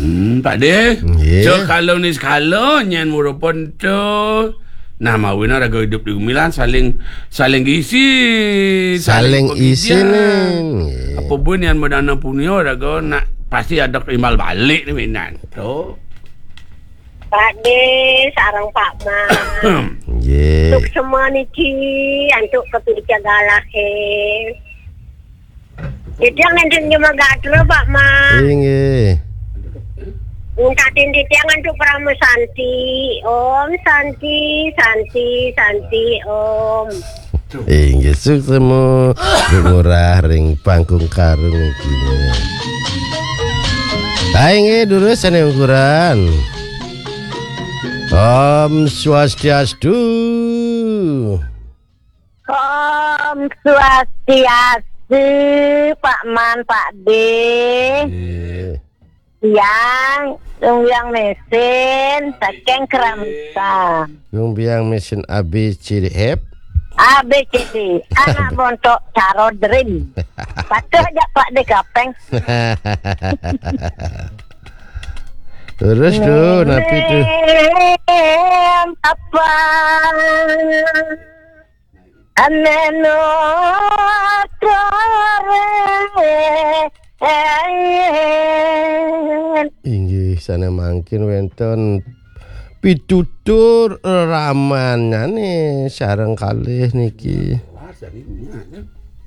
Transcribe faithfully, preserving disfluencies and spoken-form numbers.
Hmm, Pak De. Nggih. Sekala ni sekala nyen murupa tu. Nah, mawina raga idup di gumilan saling saling isi, saling isi pengijaan. Nggih. Apa pun yang madana punya raga nak pasti ada imbal balik ni minan. Tu. Pak De sareng Pak Man. Nggih. Suksma niki antuk kepica galahe. Titiang nenten nyuma gatra, Pak Man. Inggih. Minta titiang antuk Parama Santi. Om Santi, Santi, Santi, Om. Inggih, suksma Bu Ngurah ring Pangkung Karung niki. Ha inggih, durus sane ukuran. Om Swastiastu. Om Swastiastu, Pak Man, Pak De. Nggih. Tiang Lumbia Mesin saking Keramutan. Lumbia Mesin A B C D F. A B C D, anak montok Carodrin. Patuh aja Pak De Kapeng. Terus tu, napi tu? Mem apa? Ameno tore. Inggih, sane mangkin wenten pitutur ramanyane sareng kalih niki.